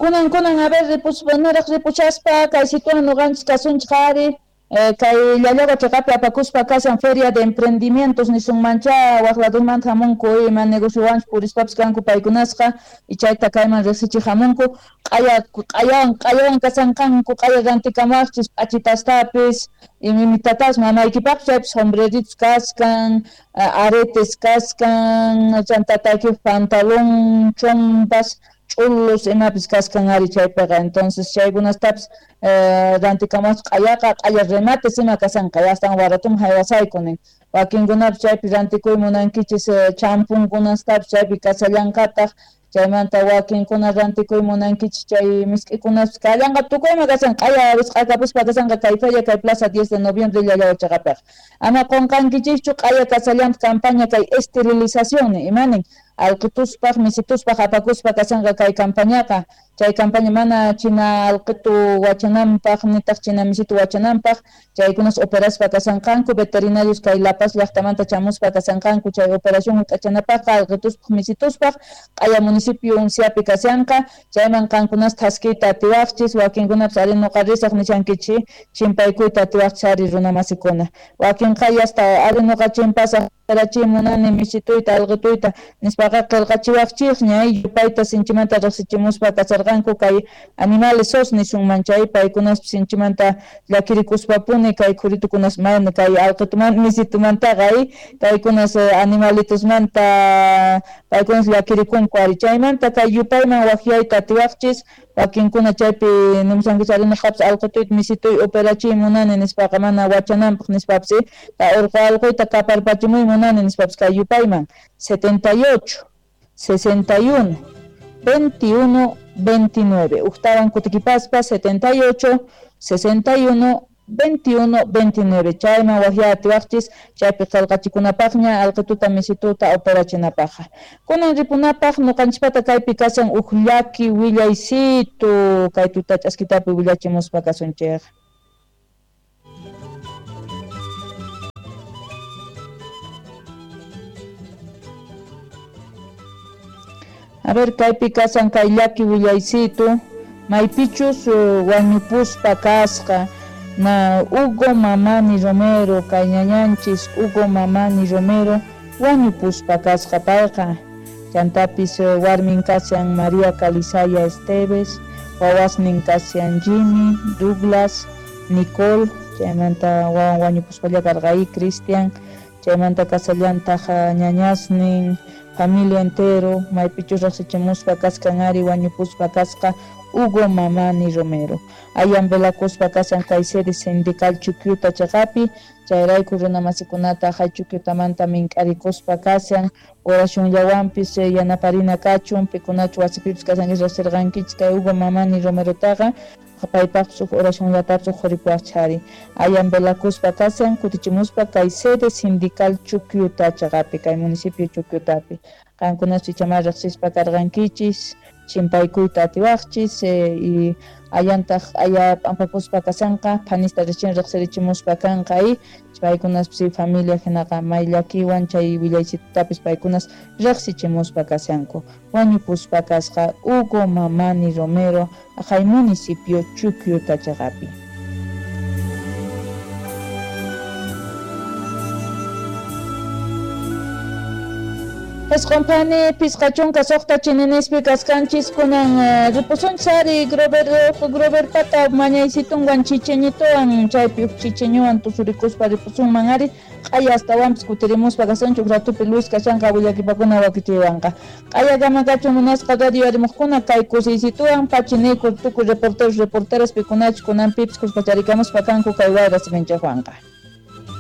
Kunan a ver ripuspa niraj ripushaspa kay situan noqanchis kasunchik ari kay Llallagua cheqapi apakuspa kashan feria de emprendimientos nisunmancha waq ladumanta hamunku ima negociowanchus purispapis kanku paykunasqa y chayta kayman riqsichik hamunku q'ayawan kasanqanku q'aya rantikamaqchis p'achitastapis imitatas mamaykipaqpis chaypis sombreritos kaskan aretes kaskan chanta tataykipaq pantalón chompas ch'ulos imapis kaskan ari chaypiqa entonces chaykunastapis rantikamaqchis q'ayaqa q'aya remates ima kasanqa astawan baratuman haywasayku nin wakinkunapis chaypi rantikuy munankichis champunkunastapis chaypi kasallanqataq chaymanta wakinkuna rantikuy munankichis chay misk'ikunaspis kallanqa tukuyma kasanqa q'aya wisq'akapuspa kasanqa kay feria kay plaza 10 de noviembre Llallagua cheqapiqa ama qunqankichikchu q'aya kasallanta campaña kay esterilización imanin alqituspaq misituspaq apakuspa kasanqa kay campañaqa chay campaña mana china alqitu wachananpaq nitaq china misitu wachananpaq chaykunas operaspa kasanqanku veterinarios kay La Paz llaqtamanta chamuspa kasanqanku chay operación hunt'achanapaqqa alqituspaq misituspaq q'aya municipio Unciapi kashanqa chayman qankunas thaskiyta atiwaqchis wakinkunapis ari nuqa risaq nishankichis chimpaykuyta atiwaqchis ari runamasikuna wakinqa yasta ari nuqa chimpasaq operachiy munani misituyta alqituyta nispaqa qillqachiwaqchikña yupayta sinchimanta riqsichimuspa kasarqanku kay animales SOS nisunman chay paykunaspis sinchimanta llakirikuspapuni kay khuritukunas mayna kay alqituman misitumantaqa kaykunas animalitosmanta paykunas llakirikunku ari chaymanta kay yupayman waqyayta atiwaqchis wakinkuna chaypi nimusankichis ari nuqapis alqituyta misituy operachiy munani nispaqa mana wachananpaq nispapis urqu alquyta kaparpachimuy munani nispapis kay yupayman 78 61 21 29 ujtawan kutikipaspa 78 61 21 29 chayman waqya atiwaqchis chaypi qillqachikunapaqña alqituta misituta operachinapaqqa kunan ripunapaq nuqanchispata kaypi kashan uj llaki willaysitu kay tuta ch'askitapi willachimuspa kasunchik. A ver, kaypi kashan kay llaki willaysitu maypichus wañupuspa kasqa na Hugo Mamani Romero kay ñañanchis Hugo Mamani Romero wañupuspa kasqa payqa chantapis warmin kashan María Calizaya Esteves wawasnin kashan Jimmy, Douglas, Nicole chaymanta wawan wañupuspalla karqa Cristian chaymanta kasallantaq ñañasnin familia entero maypichus riqsichimuspa kaskan ari wañupuspa kasqa Hugo Mamani Romero ayan velakuspa kashan kay sede sindical Chukyuta cheqapi chayrayku runamasikunata hay Chukyutamanta mink'arikuspa kashan oracionllawanpis yanaparina kachun pikunachu wasipipis kashankichis riqsirqankichis kay Hugo Mamani Romerotaqa paypaqpis huk oracionllatapis uqhuripuwaqchis ari ayan velakuspa kashan kutichimuspa kay sede sindical Chukyuta cheqapi kay municipio Chukyutapi qankunas ichamá riqsispa karqankichis chimpaykuyta atiwaqchis y ayantaq aya p'ampakuspa kashanqa phanista richin riqsirichimuspa kanqa paykunaspis familia hinaqa may llakiwan chay willaysitutapis paykunas riqsichimuspa kashanku wañupuspa kasqa Hugo Mamani Romero aqhay municipio Chukyuta cheqapi. Esqonphani 56 chininispi kaskanchis kunan ripusunchis ari Grover pata mañaysitunwan chicheñituwan chaypi uj chicheñuwan tusurikuspa ripusunman ari q'aya astawanpis kutirimuspa kasunchik ratupi Luis kashanqa willakipakuna wakichiwanqa q'aya kama kachun munasqa radio arimuqkuna kay kusiysituwan pachiniku tukuy reporteros reporteras pikunachus kunanpipis kuskacharikamuspa kanku kay wayra siminchikwanqa.